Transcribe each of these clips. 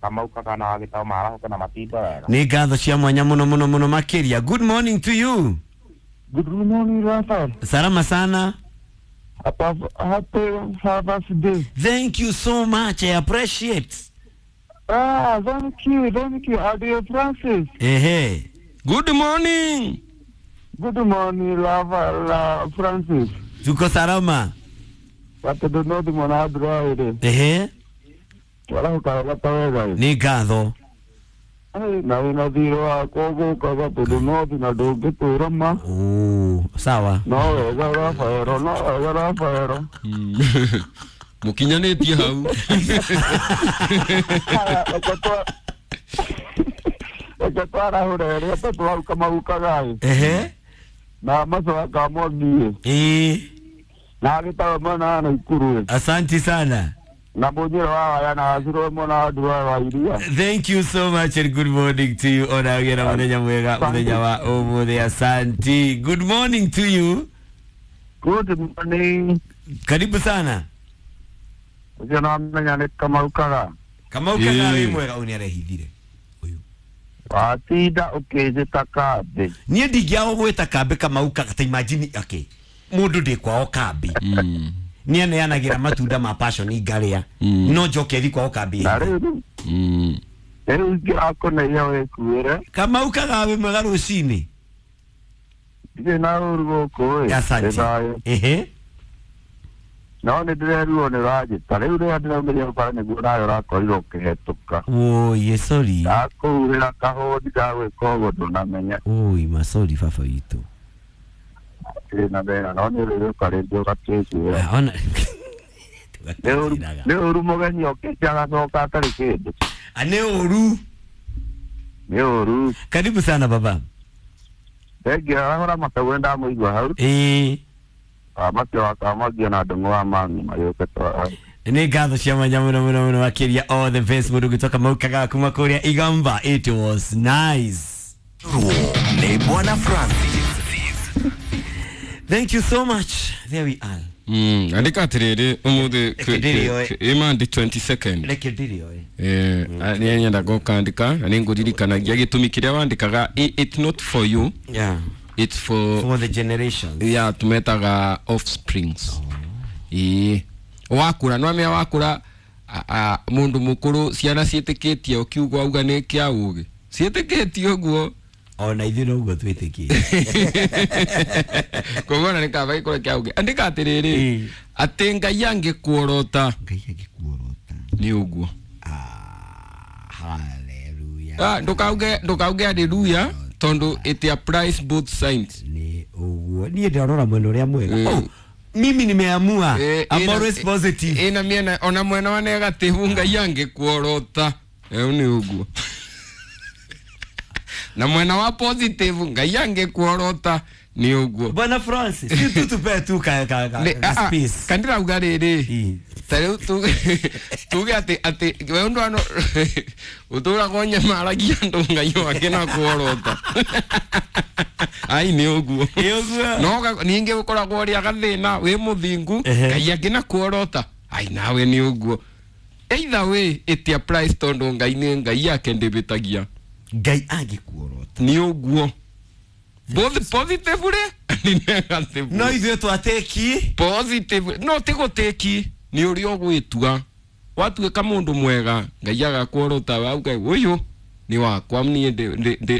Kamau kana wagĩtao marahoka na matinda wega. Nĩ ngatho cia mwanya mũno mũno mũno makĩria. Good morning to you. Good morning, Rafael. Salama sana. Happy Father's Day. Thank you so much. I appreciate. Ah, thank you, thank you. Adio Francis. Ehe. Good morning. Good morning, Rafael Francis. Tuko salama. Watoto nodi mwana adroire. Ehe. Wala hukawata wega. Nĩ ngatho. Ai, na wĩna thirĩ wakwa ũgũkaga tondũ nothi na ndũngĩtwĩra ma. Oh, sawa. No wega Rafaelo, no wega Rafaelo. Mũkinyanĩtie hau. Reke twarahũre rĩrĩa tondũ hau kamaukaga ĩ. Ehe. Na macoka kamwangi ĩ. Ĩĩ. Na agĩtawe mwena wa Naikuru ĩ. Asanti sana. Na mũnyĩro wa waya na wacirwo mwena wa Ndura wa iria. Thank you so much and good morning to you. Ona ũgĩe na mũthenya mwega, mũthenya wa ũmũthĩ. Asanti. Good morning to you. Good morning. Karibu sana. Ũcio no amenya nĩ kamaukaga. Kamau kaga wĩ Ĩĩ. mwega, ũyũ nĩarehithire. Ũyũ. Watinda ũkĩnjĩta kambĩ. Niĩ ndingĩaga gwĩta kambĩ Kamau kaga ta imagine okay. Mũndũ ndĩ kwao kambĩ. Nĩ aneanagĩra matunda ma passion ngarĩa. No njoke thi kwao kambĩ. Na rĩu rĩu ingĩrakũneia wĩkuĩre. Kamau kaga wĩ mwega rũcinĩ. Ndirĩ na ũru gũkũ ĩ. Asante. Nĩ thayũ. Ehe. No nĩ ndĩrerirwo nĩ ũranjĩta. Rĩu rĩrĩa ndĩraumĩria bara nĩguo nawe ũrakorirwo ũkĩhetũka. Woi, sorry. Ndakũhurĩra kahũndi ndagwĩka ũguo ndũnamenya. Oi, masori baba witũ. Ndĩrĩ na thĩna no nĩ ũrĩũka rĩngĩ ũgatwĩkuĩra. Ah, ona. Nĩ ũru mũgeni okĩte agacoka atarĩ kĩndũ. Ah, nĩ ũru. Nĩ ũru. Karibu sana baba. Thengia arahũra makau ndamũigua hau. Ĩĩ. Makĩo wakamagia na ndũng'ũ wa mami magĩũke twara. Nĩ ngatho cia mwanya mũno mũno mũno makĩria all the best mũndũ gũtoka Kamau kaga kuma kũrĩa Igamba. It was nice. Nĩ Bwana Francis. Thank you so much. There we are. Andĩka atĩrĩrĩ ũmũthĩ Reke ndĩrĩoe. ĩmandi 22nd. Reke ndĩrĩoe. Nĩ nyendaga ũkandĩka na nĩ ngũririkanagia gĩtũmi kĩrĩa wandĩkaga it's not for you, Yeah. it's for For the generations. ya tumetaga offsprings. Ĩĩ wakũra no amenya wakũra mũndũ mũkũrũ ciana ciĩtĩkĩtie ũkiuga auga nĩ kĩa ũgĩ ciĩtĩkĩtie ũguo. Ona ithuĩ noguo twĩtĩkĩtie. Koguo ona nĩ kaba gĩkorwo kĩa ũgĩ. Andĩka atĩrĩrĩ Ĩĩ. atĩ Ngai angĩkuorota Ngai angĩkuorota. nĩ ũguo. Ah, hallelujah. Ah, ndũkauge hallelujah tondũ it applies both sides. Nĩ ũguo. Niĩ ndĩrarora mwena ũrĩa mwega. Oh, mimi nimeamua. I'm always positive. Ĩna mĩena ona mwena wa negative Ngai angĩkuorota ĩu nĩ ũguo. Na mwena wa positive Ngai angĩkuorota nĩ ũguo. Bwana Francis, si tu tupe tu ka ka ka, Nĩ- ka ah, ah, space. kandĩrauga rĩrĩ Ĩĩ. ta rĩu tuge atĩ we ũndũ ano ũtũraga ũnyamaragia andũ Ngai wake na kuorota. Ai nĩ ũguo. Nĩ ũguo. No ningĩ ũkoragwo ũrĩ agathĩna wĩ mũthingu Ehe. Ngai angĩ na kuorota. Ai nawe nĩ ũguo. Either way it applies tondũ Ngai nĩ Ngai yake ndĩbĩtagia. Ngai angĩkuorota. Nĩ ũguo. Both positively and negatively. No ithuĩ twatĩki. Positive no ti gũtĩki nĩ ũrĩa ũgwĩtua watuĩka mũndũ mwega Ngai agakuorota wauga ũyũ nĩ wakwa niĩ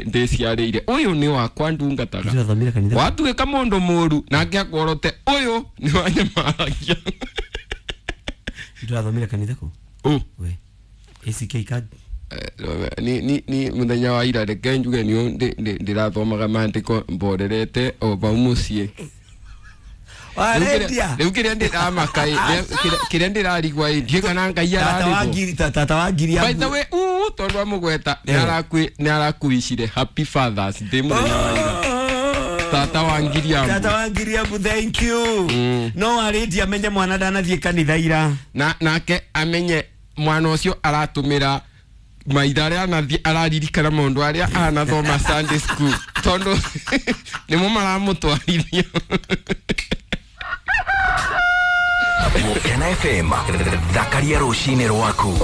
ndĩciarĩire ũyũ nĩ wakwa ndungataga Ndĩrathomire kanitha. watuĩka mũndũ mũru nake akuorote ũyũ nĩ wanyamaragia. Ndĩrathomire kanitha kũ? Ũ. We. ACK card. Ni mũthenya wa ira reke njuge nĩ ndĩrathomaga maandĩko mborerete o vau mũciĩ. Warendia. Rĩu kĩrĩa ndĩramaka kĩrĩa ndĩrarigwa ĩ ndiĩ kana Ngai Tata wa ararĩrwo. ngiri tata wa ngiri By the way, tondũ amũgweta nĩ arakuicire Happy Fathers Day mũthenya wa ira. Tata wa ngiri Tata ambu. wa ngiri ambu, thank you. No warĩndia amenye mwana ndanathiĩ kanitha ira. Na nake amenye mwana ũcio aratũmĩra maitha arĩa anathiĩ araririkana maũndũ arĩa anathoma Sunday school tondũ nĩmo maramũtwarithia. Mukena FM thakaria rũcinĩ rwaku.